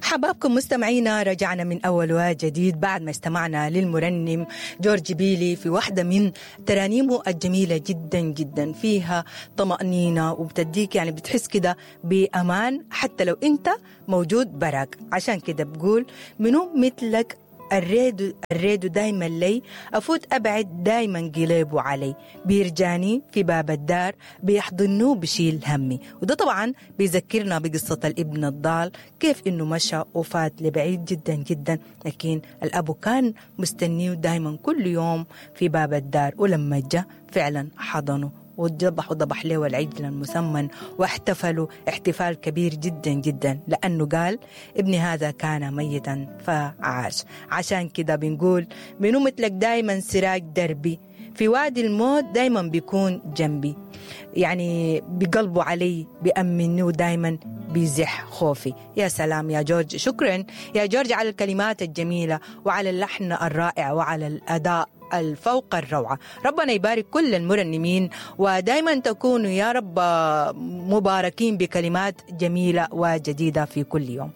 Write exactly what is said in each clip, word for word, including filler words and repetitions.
حبابكم مستمعينا، رجعنا من أول وجديد بعد ما استمعنا للمرنم جورج بيلي في واحدة من ترانيمه الجميلة جدا جدا، فيها طمأنينة وبتديك يعني بتحس كده بأمان حتى لو أنت موجود براك. عشان كده بقول منو مثلك الريدو الريدو دايما لي أفوت أبعد دايما قليبه علي، بيرجاني في باب الدار بيحضنه بشيل همي. وده طبعا بيذكرنا بقصة الابن الضال، كيف إنه مشى وفات لبعيد جدا جدا، لكن الأبو كان مستنيه دايما كل يوم في باب الدار، ولما جاء فعلا حضنه وذبح وذبح له العجل المسمن واحتفلوا احتفال كبير جدا جدا، لأنه قال ابني هذا كان ميتا فعاش. عشان كده بنقول منو مثلك دايما سراج دربي، في وادي الموت دايما بيكون جنبي، يعني بقلبه علي بيأمني ودايما بيزح خوفي. يا سلام يا جورج، شكرا يا جورج على الكلمات الجميلة وعلى اللحن الرائع وعلى الأداء الفوق الروعة. ربنا يبارك كل المرنمين، ودايما تكونوا يا رب مباركين بكلمات جميلة وجديدة في كل يوم.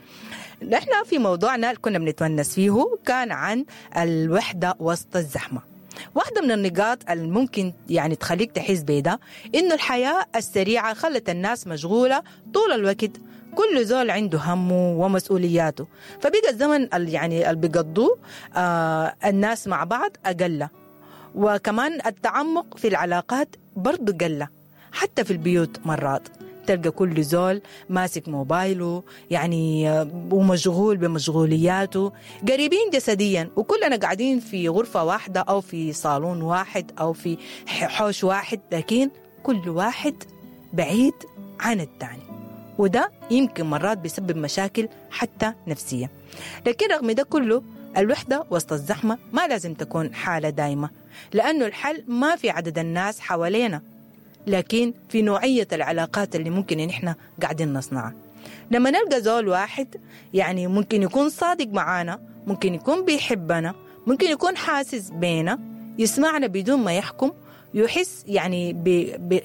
نحن في موضوعنا اللي كنا بنتونس فيه كان عن الوحدة وسط الزحمة. واحدة من النقاط الممكن يعني تخليك تحس بده إنه الحياة السريعة خلت الناس مشغولة طول الوقت، كل زول عنده همه ومسؤولياته، فبقى الزمن اللي يعني اللي بيقضوه آه الناس مع بعض أقل، وكمان التعمق في العلاقات برضو قل، حتى في البيوت مرات تلقى كل زول ماسك موبايله يعني ومشغول بمشغولياته، قريبين جسديا وكلنا قاعدين في غرفة واحدة أو في صالون واحد أو في حوش واحد، لكن كل واحد بعيد عن الثاني، وده يمكن مرات بيسبب مشاكل حتى نفسية. لكن رغم ده كله الوحدة وسط الزحمة ما لازم تكون حالة دايمة، لأنه الحل ما في عدد الناس حوالينا، لكن في نوعية العلاقات اللي ممكن إن إحنا قاعدين نصنعها. لما نلقى زول واحد يعني ممكن يكون صادق معانا، ممكن يكون بيحبنا، ممكن يكون حاسس بينا، يسمعنا بدون ما يحكم، يحس يعني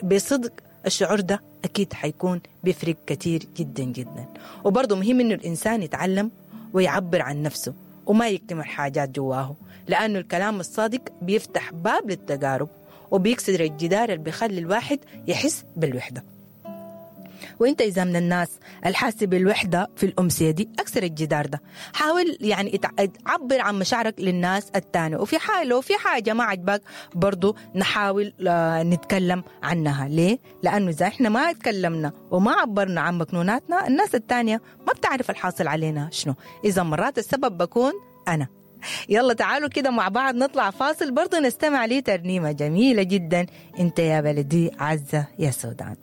بصدق، الشعور ده أكيد حيكون بيفرق كتير جدا جدا. وبرضه مهم إنه الإنسان يتعلم ويعبر عن نفسه وما يكتم الحاجات جواه، لأنه الكلام الصادق بيفتح باب للتجارب وبيكسر الجدار اللي بيخلي الواحد يحس بالوحدة. وانت إذا من الناس الحاسة بالوحدة في الأمسية دي، أكسر الجدار ده، حاول يعني تعبر عن مشاعرك للناس التانية، وفي حاجة لو في حاجة ما عجبك برضو نحاول نتكلم عنها. ليه؟ لأنه إذا إحنا ما اتكلمنا وما عبرنا عن مكنوناتنا، الناس التانية ما بتعرف الحاصل علينا شنو. إذا مرات السبب بكون أنا. يلا تعالوا كده مع بعض نطلع فاصل، برضو نستمع ليه ترنيمة جميلة جدا، انت يا بلدي عزة يا سودان.